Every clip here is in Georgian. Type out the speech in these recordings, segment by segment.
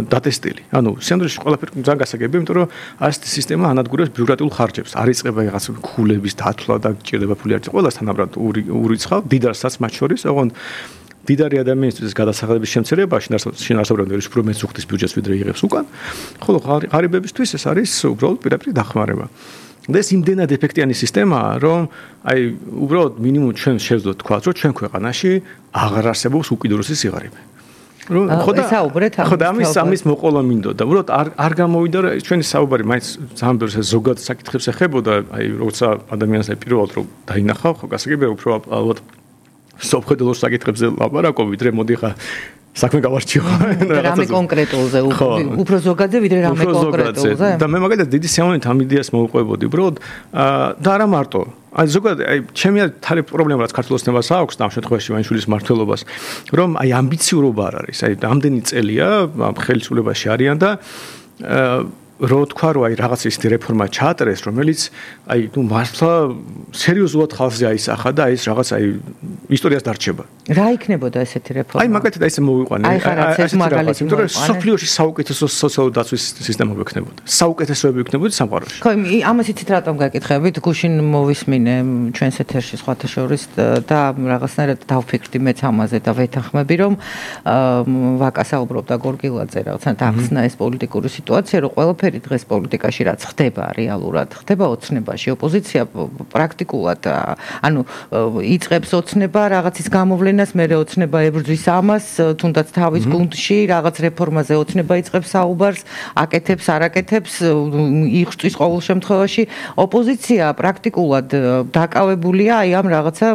დატესტილი. ანუ სინამდვილეში ყველაფერი ძალიან გასაგებია, იმიტომ რომ ასეთი სისტემა ანადგურებს ბიუროკრატიულ ხარჯებს. არ იწყება რაღაც ქულების დათვლა და გჭირდება ფული არც ყველას თანაბრად ურიცხავ დიდარსაც მათ შორის, ოღონდ დიდარი ადამიანისთვის გადასახადების შემცირებაში შინაარსობრივად ვერ უფრო მეც უხდის ბიუჯეტს ვიდრე იღებს უკან, ხოლო ღარიბებისთვის ეს არის უბრალოდ პირდაპირ დახმარება. და ეს იმდენად ეფექტიანი სისტემაა, რომ აი უბრალოდ მინიმუმ ჩვენ შევძლოთ თქვა, რომ ჩვენ ქვეყანაში აღარ არსებობს უკიდურესი სიღარიბე. ხოდა ამის მოყოლა მინდოდა. უბრალოდ არ გამოვიდა რა ჩვენი საუბარი მაინც ძალიან ბევრს ზოგად საკითხებს ეხებოდა, აი როცა ადამიანს პირველად რო დაინახავ, ხო გასაგებია უფრო ალბათ სოფხედელოს საკითხებზე ლაპარაკობ, ვიდრე მოდი ხა საქმე გავარჩიო. რამე კონკრეტულზე, უფრო ზოგადზე ვიდრე რამე კონკრეტულზე. და მე მაგალითად დიდი სიამოვნებით ამ იდეას მოვუყვებოდი, უბრალოდ და არა მარტო. აი ზოგადად აი ჩემი თარი პრობლემა რაც ქართულ ოცნებას აქვს და ამ შემთხვევაში ვანიშვილის მმართველობას, რომ აი ამბიციურობა არ არის. აი ამდენი წელია ხელისუფლებაში არიან და რო თქვა რომ აი რაღაც ისეთი რეფორმა ჩაატრეს, რომელიც აი მართლა სერიოზულად ხალხზე აისახა და ეს რაღაც აი ისტორიას დარჩება. რა იქნებოდა ესეთი რეფორმა? აი მაგათი და ესე მოვიყვანე. იმიტომ რომ სოფლიოში საუკეთესო სოციალური დაცვის სისტემა გვექნებოდა. საუკეთესოები იქნებოდა სამყაროში. ხო, ამას იცით რატომ გაკითხებით? გუშინ მოვისმინე ჩვენს ეთერში სხვათა შორის და რაღაცნაირად დავფიქრდი მეც ამაზე და ვეთანხმები რომ ვაკა საუბრობდა გორგილაძე რაღაცნაირად ახსნა ეს პოლიტიკური სიტუაცია, რომ ყველაფერი დღეს პოლიტიკაში რაც ხდება რეალურად, ხდება ოცნებაში. ოპოზიცია პრაქტიკულად ანუ იწყებს ოცნება რაღაცის გამოვლენას, მერე ოცნება ებრძვის ამას, თუნდაც თავის გუნდში რაღაც რეფორმაზე ოცნება იწყებს საუბარს, აკეთებს, არ აკეთებს, იღწვის ყოველ შემთხვევაში. ოპოზიცია პრაქტიკულად დაკავებულია აი ამ რაღაცა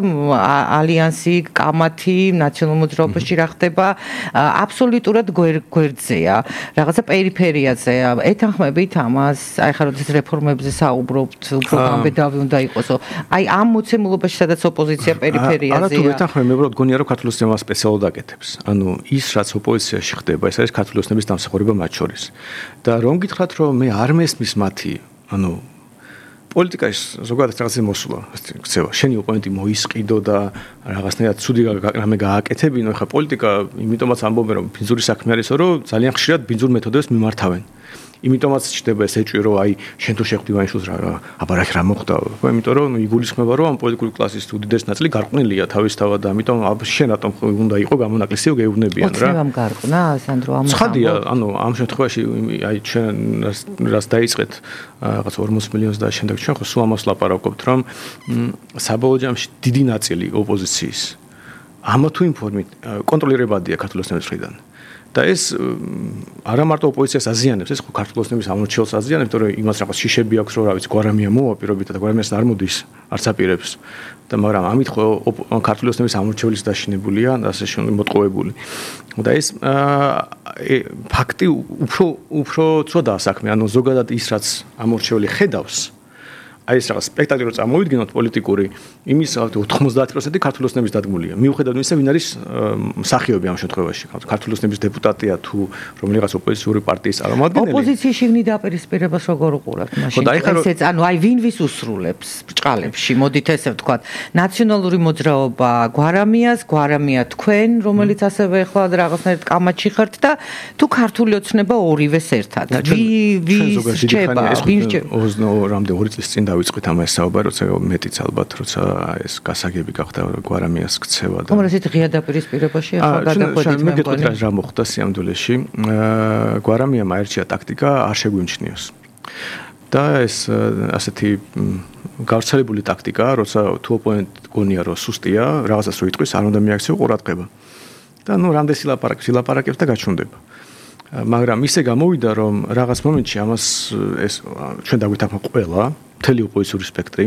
ალიანსი, კამათი, ნაციონალურ მოძრაობაში რა ხდება, აბსოლუტურად გვერდზეა, რაღაცა პერიფერიაზეა. ეთანხმებით ამას, აი ხარ როდის რეფორმებზე საუბრობთ, უფრო გამბედავი უნდა იყოსო. აი ამ მოცემულობაში სადაც ოპოზიცია პერიფერიაზეა. არა თუ ეთანხმები, მე უბრალოდ გონია რომ ქართული ოცნება სპეციალურად აკეთებს. ანუ ის რაც ოპოზიციაში ხდება, ეს არის ქართული ოცნების დამსახურება მათ შორის. და რომ გითხრათ რომ მე არ მესმის მათი, ანუ პოლიტიკაში ზოგადად რაღაცა მოსულა, ქცევა. შენი ოპონენტი მოისყიდო და რაღაცნაირად ცუდი რამე გააკეთებინო, ხა პოლიტიკა იმიტომაც ამბობენ რომ ბინძური საქმე არისო, რომ ძალიან ხშირად ბინძურ მეთოდებს მიმართავენ. იმიტომაც ჩდება ეს ეჭვი რომ აი შენ თუ შეხვდი ვანიშვილს რა აბარაკ რა მოხდა ხო იმიტომ რომ იგულისხმება რომ ამ პოლიტიკური კლასის უდიდესი ნაწილი გარყვნილია თავისთავად და ამიტომ შენ რატომ უნდა იყო გამონაკლისიო გეუბნებიან რა ოცნებამ გარყნა სანდრო ამას ცხადია ანუ ამ შემთხვევაში აი ჩვენ რას დაიწყეთ რაღაც 40 მილიონს და შემდეგ ჩვენ ხო სულ ამას ლაპარაკობთ რომ საბოლოო ჯამში დიდი ნაწილი ოპოზიციის ამა თუ იმ ფორმით კონტროლირებადია ქართული ოცნების მხრიდან და ეს არა მარტო ოპოზიციას აზიანებს, ეს ხო ქართული ოცნების ამორჩეულს აზიანებს, იმიტომ რომ იმას რაღაც შიშები აქვს, რომ რა ვიცი, გვარამია მოვა პირობითად და გვარამიას არ მოდის, არც აპირებს. და მაგრამ ამით ხო ქართული ოცნების ამორჩეულის დაშინებულია, ასე მოტყუებული. და ეს ფაქტი უფრო ცუდაა საქმე, ანუ ზოგადად ის რაც ამორჩეული ხედავს აი ეს რაღაც სპექტაკლი რო წამოვიდგინოთ პოლიტიკური იმის 90% ქართული ოცნების დადგმულია. მიუხედავად იმისა, ვინ არის მსახიობი ამ შემთხვევაში. ქართული ოცნების დეპუტატია თუ რომელიღაც ოპოზიციური პარტიის წარმომადგენელი. ოპოზიციის შიგნით დაპირისპირებას როგორ უყურებთ მაშინ? ესეც ანუ აი ვინ ვის უსრულებს ბჭყალებში? მოდით ესე ვთქვათ, ნაციონალური მოძრაობა გვარამიას, გვარამია თქვენ, რომელიც ასევე ახლა რაღაცნაირად კამათში ხართ და თუ ქართული ოცნება ორივეს ერთად. ვის რჩება? ვინ რჩება? 22 წლის წინ ვიწყეთ ამას საუბარი, როცა მეტიც ალბათ, როცა ეს გასაგები გახდა გვარამიას ქცევა და. თუმცა ესეთ ღია დაპირისპირებაში ახლა გადაყვედით მე მგონი რა მოხდა სიამდვილეში. გვარამიამ აერჩია ტაქტიკა არ შეგვიმჩნიოს. და ეს ასეთი გავრცელებული ტაქტიკა, როცა თუ ოპონენტი გონია რომ სუსტია, რაღაცას რო იტყვის, არ უნდა მიაქციო ყურადღება. და ნუ რამდენი ლაპარაკებს და გაჩუნდება. მაგრამ ისე გამოვიდა რომ რაღაც მომენტში ამას ეს ჩვენ დაგვითანხმა ყველა მთელი ოპოზიციური სპექტრი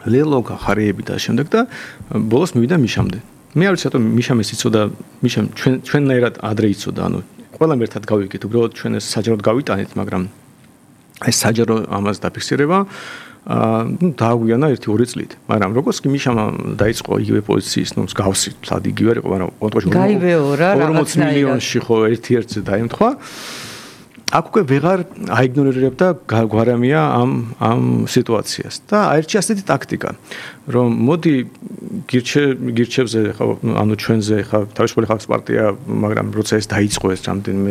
ლელო ხარიები და შემდეგ და ბოლოს მივიდა მიშამდე მე არ ვიცი რატომ მიშამ ეს იცოდა მიშამ ჩვენნაირად ადრე იცოდა ანუ ყველამ ერთად გავიგეთ უბრალოდ ჩვენ ეს საჯაროდ გავიტანეთ მაგრამ ეს საჯარო ამას დაფიქსირება დააგვიანა 1-2 წლით მაგრამ როგორც კი მიშამ დაიწყო იგივე პოზიციის ნუ მსგავსი თლად იგივე იყო მაგრამ კონკრეტულად გაივეო რა 40 მილიონში ხო ერთ-ერთზე დაემთხვა აქ უკვე ვეღარ აიგნორირებდა გვარამია ამ სიტუაციას და აერჩია ასეთი ტაქტიკა რომ მოდი გირჩევზე ხო ანუ ჩვენზე ხო თავისუფალი ხალხის პარტია მაგრამ როცა ეს დაიწყო ეს რამდენიმე